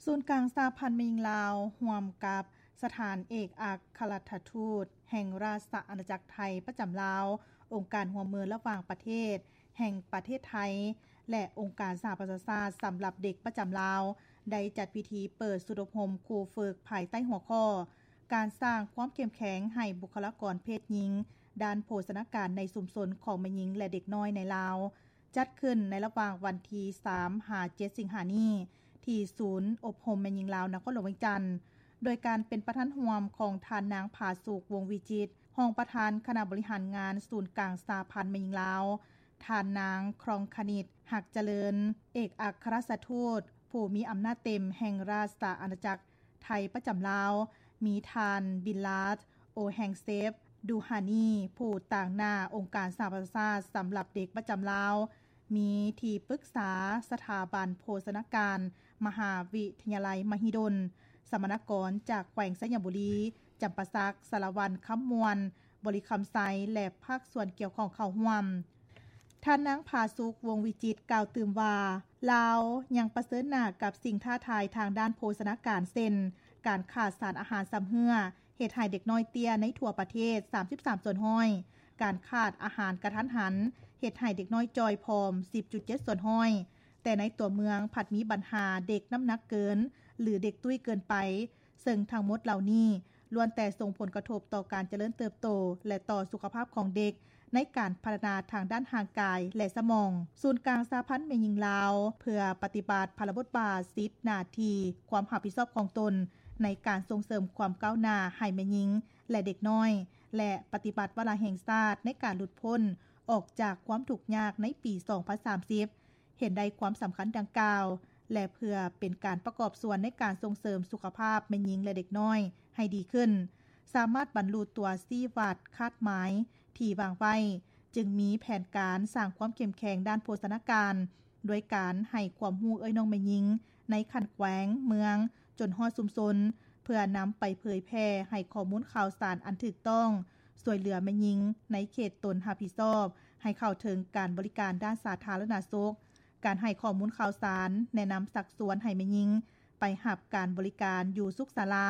ສູນກາງສະຫະພັນແມ່ຍິງລາວ ຮ່ວມກັບສະຖານເອກອັກຄະລັດຖະທູດແຫ່ງລາຊະອານາຈັກໄທປະຈຳລາວ, ອົງການຮ່ວມມືລະຫວ່າງປະເທດແຫ່ງປະເທດໄທ ແລະ ອົງການສະຫະປະຊາຊາດສຳລັບເດັກປະຈຳລາວ ໄດ້ຈັດພິທີເປີດຊຸດອົບຮົມຄູຝຶກພາຍໃຕ້ຫົວຂໍ້ ການສ້າງຄວາມເຂັ້ມແຂງໃຫ້ບຸກຄະລາກອນເພດຍິງ ດ້ານໂພຊະນາການໃນຊຸມຊົນຂອງແມ່ຍິງ ແລະ ເດັກນ້ອຍໃນລາວ. ຈັດຂຶ້ນໃນລະຫວ່າງວັນທີສາມຫາເຈັດສິງຫານີ້ ທີ່ສູນອົບຮົມແມ່ຍິງລາວ ນະຄອນຫຼວງວຽງຈັນ, ໂດຍການເປັນປະທານຮ່ວມຂອງທ່ານນາງ ຜາສຸກ ວົງວິຈິດ ຮອງປະທານຄະນະບໍລິຫານງານສູນກາງສະຫະພັນແມ່ຍິງລາວ, ທ່ານນາງ ຄຣອງຄະນິດ ຮັກຈະເລີນ ເອກອັກຄະລັດຖະທູດຜູ້ມີອຳນາດເຕັມແຫ່ງລາຊະອານາຈັກໄທປະຈຳລາວ, ມີທ່ານ ບິນລາດ ໂອແຮງເຊບ ດູຮານີ ຜູ້ຕາງໜ້າອົງການສະຫະປະຊາຊາດສຳລັບເດັກປະຈຳລາວ, ມີທີ່ປຶກສາສະຖາບັນໂພຊະນາການ ມະຫາວິທະຍາໄລມະຫິດົນ, ສຳມະນາກອນຈາກແຂວງໄຊຍະບູລີ, ຈຳປາສັກ, ສາລະວັນ, ຄຳມ່ວນ, ບໍລິຄຳໄຊ ແລະ ພາກສ່ວນກ່ຽວຂ້ອງເຂົ້າຮ່ວມ. ທ່ານນາງ ຜາສຸກ ວົງວິຈິດ ກ່າວຕື່ມວ່າ ລາວຍັງປະເຊີນໜ້າກັບສິ່ງທ້າທາຍທາງດ້ານໂພຊະນາການ ເຊັ່ນ ການຂາດສານອາຫານຊຳເຮື້ອ ເຮັດໃຫ້ເດັກນ້ອຍເຕ້ຍໃນທົ່ວປະເທດ ສາມສິບສາມສ່ວນຮ້ອຍ, ການຂາດອາຫານກະທັນຫັນ ເຮັດໃຫ້ເດັກນ້ອຍຈ່ອຍຜອມ ສິບຈຸດເຈັດສ່ວນຮ້ອຍ, ແຕ່ໃນຕົວເມືອງພັດມີບັນຫາເດັກນ້ຳໜັກເກີນ ຫຼື ເດັກຕຸ້ຍເກີນໄປ, ເຊິ່ງທັງໝົດເຫຼົ່ານີ້ ລ້ວນແຕ່ສົ່ງຜົນກະທົບຕໍ່ການຈະເລີນເຕີບໂຕ ແລະ ຕໍ່ສຸຂະພາບຂອງເດັກ ໃນການພັດທະນາທາງດ້ານຮ່າງກາຍ ແລະ ສະໝອງ. ສູນກາງສະຫະພັນແມ່ຍິງລາວ ເພື່ອປະຕິບັດພາລະບົດບາດ, ສິດ, ໜ້າທີ່, ຄວາມຮັບຜິດຊອບຂອງຕົນ ໃນການສົ່ງເສີມຄວາມກ້າວໜ້າໃຫ້ແມ່ຍິງ ແລະ ເດັກນ້ອຍ ແລະ ປະຕິບັດວາລະແຫ່ງຊາດໃນການຫຼຸດພົ້ນອອກຈາກຄວາມທຸກຍາກໃນປີສອງພັນສາມສິບ ເຫັນໄດ້ຄວາມສຳຄັນດັ່ງກ່າວ ແລະ ເພື່ອເປັນການປະກອບສ່ວນໃນການສົ່ງເສີມສຸຂະພາບແມ່ຍິງ ແລະ ເດັກນ້ອຍໃຫ້ດີຂຶ້ນ, ສາມາດບັນລຸຕົວຊີ້ວັດຄາດໝາຍທີ່ວາງໄວ້, ຈຶ່ງມີແຜນການສ້າງຄວາມເຂັ້ມແຂງດ້ານໂພຊະນາການ ດ້ວຍການໃຫ້ຄວາມຮູ້ເອື້ອຍນ້ອງແມ່ຍິງໃນຂັ້ນແຂວງ, ເມືອງ, ຈົນຮອດຊຸມຊົນ, ເພື່ອນຳໄປເຜີຍແຜ່ໃຫ້ຂໍ້ມູນຂ່າວສານອັນຖືກຕ້ອງ, ຊ່ວຍເຫຼືອແມ່ຍິງໃນເຂດຕົນຮັບຜິດຊອບ ໃຫ້ເຂົ້າເຖິງການບໍລິການດ້ານສາທາລະນະສຸກ, ການໃຫ້ຂໍ້ມູນຂ່າວສານ, ແນະນຳຊັກຊວນໃຫ້ແມ່ຍິງໄປຮັບການບໍລິການຢູ່ສຸກສາລາ,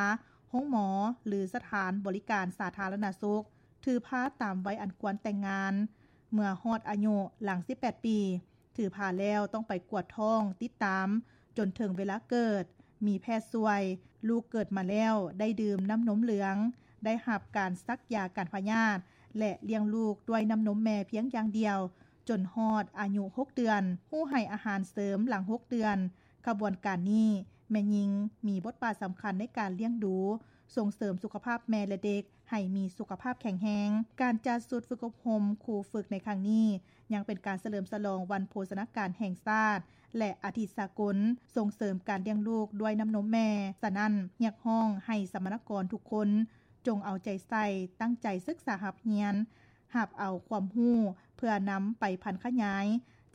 ໂຮງໝໍ ຫຼື ສະຖານບໍລິການສາທາລະນະສຸກ, ຖືພາຕາມໄວອັນຄວນແຕ່ງງານ, ເມື່ອຮອດອາຍຸຫຼັງສິບແປດປີ, ຖືພາແລ້ວຕ້ອງໄປກວດທ້ອງຕິດຕາມຈົນເຖິງເວລາເກີດ, ມີແພດຊ່ວຍ, ລູກເກີດມາແລ້ວໄດ້ດື່ມນ້ຳນົມເຫຼືອງ, ໄດ້ຮັບການສັກຢາກັນພະຍາດ ແລະ ລ້ຽງລູກດ້ວຍນ້ຳນົມແມ່ພຽງຢ່າງດຽວ ຈົນຮອດອາຍຸຫົກເດືອນ, ຮູ້ໃຫ້ອາຫານເສີມຫຼັງຫົກເດືອນ. ຂະບວນການນີ້ ແມ່ຍິງມີບົດບາດສຳຄັນໃນການລ້ຽງດູ, ສົ່ງເສີມສຸຂະພາບແມ່ ແລະ ເດັກ ໃຫ້ມີສຸຂະພາບແຂງແຮງ. ການຈັດຊຸດຝຶກອົບຮົມຄູຝຶກໃນຄັ້ງນີ້ ຍັງເປັນການສະເຫຼີມສະຫຼອງວັນໂພຊະນາການແຫ່ງຊາດ ແລະ ອາທິດສາກົນສົ່ງເສີມການລ້ຽງລູກດ້ວຍນ້ຳນົມແມ່. ສະນັ້ນ, ຮຽກຮ້ອງໃຫ້ສຳມະນາກອນທຸກຄົນ ຈົ່ງເອົາໃຈໃສ່, ຕັ້ງໃຈສຶກສາຮັບຮຽນ, ຮັບເອົາຄວາມຮູ້ເພື່ອນຳໄປຜັນຂະຫຍາຍ,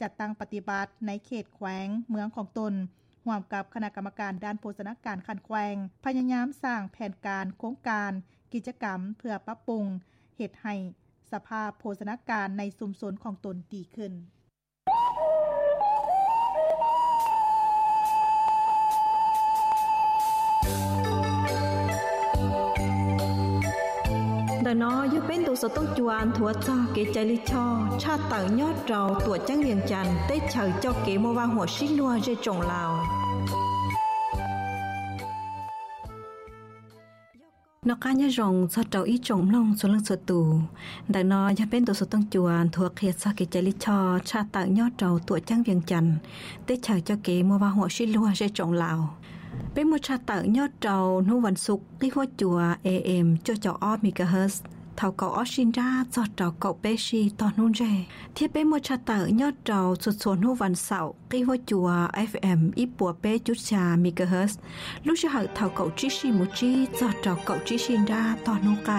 ຈັດຕັ້ງປະຕິບັດໃນເຂດແຂວງ, ເມືອງຂອງຕົນ, ຮ່ວມກັບຄະນະກຳມະການດ້ານໂພຊະນາການຂັ້ນແຂວງ, ພະຍາຍາມສ້າງແຜນການ, ໂຄງການ, ກິດຈະກຳເພື່ອປັບປຸງເຮັດໃຫ້ສະພາບໂພຊະນາການໃນຊຸມຊົນຂອງຕົນດີຂຶ້ນ. ເດີນໍ ယိວເປັນໂຕສະຕົງຈວນ ຖົວຈອກເກໄຈລິຊໍ ຊາດເຕົາຍອດເຮົາ ຕົວະຈັ່ງວຽງຈັນ ເຕະເຊົາເຈົ້າເກມົວວາຫົວຊີຫຼວງ ເຈຈົງລາວ. ນອກກາຍະຢອງ ຊອດເຕົາອີ່ຈົງມະລົງ ຊວນເລື່ອງຊວນຕູ ເດີນໍ ຍາເປັນໂຕສະຕົງຈວນ ຖົວເຄຍຊອກເກໄຈລິຊໍ ຊາດເຕົາຍອດເຮົາ ຕົວະຈັ່ງວຽງຈັນ ເຕະເຊົາເຈົ້າເກມົວວາຫົວຊີຫຼວງ ເຈຈົງລາວ. ເປັນມົວຊາດເຕົາຍອດເຮົາ ເນວັນສຸກ ກີຫົວຈົວ ເອເອັມ ຈົວເຈົ້າອອບ ເມກາເຮີດ ເທົ່າເກົາອອດຊິນດາ ຊອດເຕົາເກົາເປຊີ ຕໍ່ເນເຈ ທຽບເປັນມົວຊາດເຕົາຍອດເຮົາ ສຸດສວນ ເນວັນເສົາ ກີຫົວຈົວ ເອັຟເອັມ ອີ່ປົວເປຈຸດຊາ ເມກາເຮີດ ລູກຊິເຮົາເທົ່າເກົາຈີຊີ ໂມຈີ ຊອດເຕົາເກົາຈີຊີນດາ ຕໍ່ເນໄກ